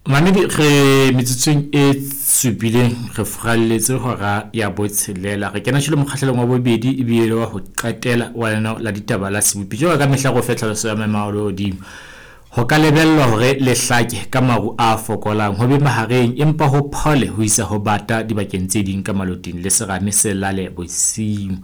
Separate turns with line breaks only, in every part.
Mamedi re metsotsong e supileng re furalletse hora ya botshelela. Re kena tjhelo mokgahlelong wa bobedi ebile wa ho qetela wa lenaneo la ditaba la sebopi. Jwalo ka mehla re o fe tlhaloso ya maemo a lehodimo. Ho ka lebellwa hore le hlake ka maru a fokolang ho be mahareng empa ho phole ho isa ho bata dibakeng tse ding ka maloting le serame se lale bosiu.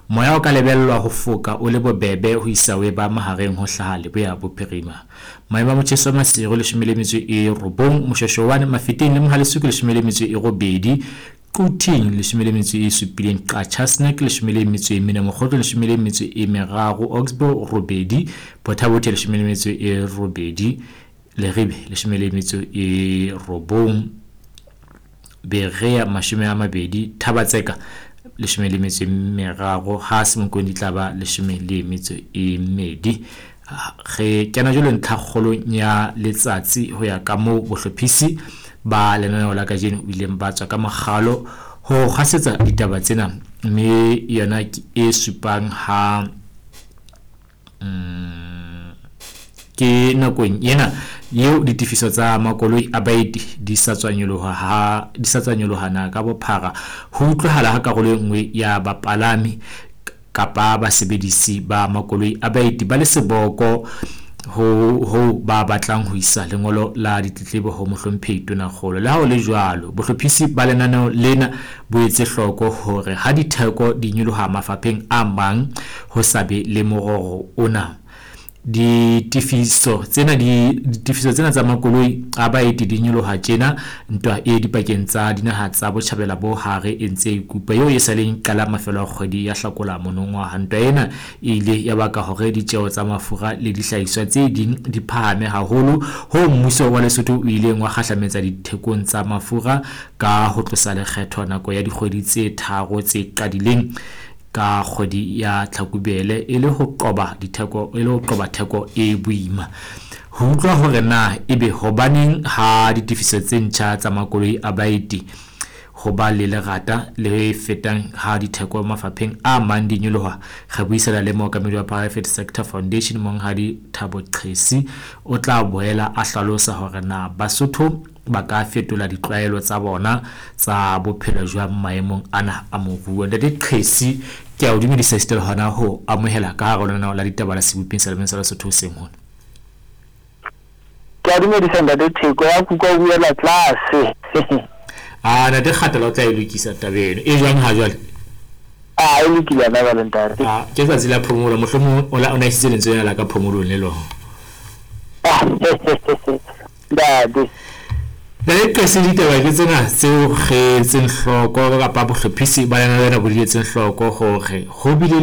Moya o ka lebellwa ho foka o le bobebe ho isa ho eba mahareng ho hlaha leboya bophirima. Maemo a motjheso wa Maseru 19, Moshoeshoe Mafeteng le Mohale'shoek 18, Quthing 17, Qacha's Nek 14, Mokhotlong 13, Oxbow 8, Botha Bothe 18, Leribe 19, Berea 20, Thaba-Tseka 13, ha Semonkong di tla ba 12. Re kena jwale ntlhakgolong ya letsatsi ho ya ka moo bohlophisi ba lenaneo la kajeno o ileng ba tswa ka mokgalo ho kgasetsa ditaba tsena, mme yona ke e supang ha ke nakong ena eo ditefiso tsa makoloi a baeti di sa tswa nyoloha ha di sa tswa nyoloha na ka bophara. Ho utlwahala ha karolo e nngwe ya bapalami kapa basebedisi ba makoloi a baeti ba le seboko ho ba batlang ho isa lengolo la ditletlebo ho mohlomphehi Tonakgolo. Le ha ho le jwalo, bohlophisi ba lenaneo lena bo etse hloko hore ha ditheko di nyoloha mafapheng a mang ho sa be le mororo ona. Ditefiso tsena ditefiso tsena tsa makoloi a baeti di nyoloha tjena ntwa e dipakeng tsa dinaha tsa botjhabela bo hare e ntse e kupa eo e sa leng qala mafelo a kgwedi ya Hlakola monongwaha. Ntwa ena e ile ya baka hore ditjeo tsa mafura le dihlahiswa tse ding di phahame haholo ho mmuso wa Lesotho o ileng wa kgahlametsa dithekong tsa mafura ka ho tlosa lekgetho nako ya dikgwedi tse 3 tse qadileng ka kgwedi ya Tlhakubele e le ho qoba ditheko e le ho qoba theko e boima. Ho utlwa hore na ebe hobaneng ha ditefiso tse ntjha tsa makoloi a baeti ho ba le lerata le fetang ha ditheko mafapheng a mang di nyoloha, re buisana le mookamedi wa Private Sector Foundation Monghadi Thabo Qhesi. O tla boela a hlalosa hore na Basotho ba ka fetola ditlwaelo tsa bona tsa bophelo jwang maemong ana a moruo. Ntate Qhesi, ke a o dumedisa esita le hona ho amohela ka hare ho lenaneo la ditaba la Seboping sa Lemeng sa Lesotho hoseng hona.
Ke a dumedisa ntate Theko, ya kuka o buela tlase.
A ntate Kgatela o tla e lokisa taba eno. E jwang ha jwale?
A e lokile ana jwale ntate.
A ke tsatsi la phomolo, mohlomong o la o na isitse lentswe lena la ka phomolong le lona.
Ntate.
Ntate Qhesi, ditaba ke tsena tseo re etseng hloko kapa bohlophisi ba lenaneo lena bo di etseng hloko hore ho bile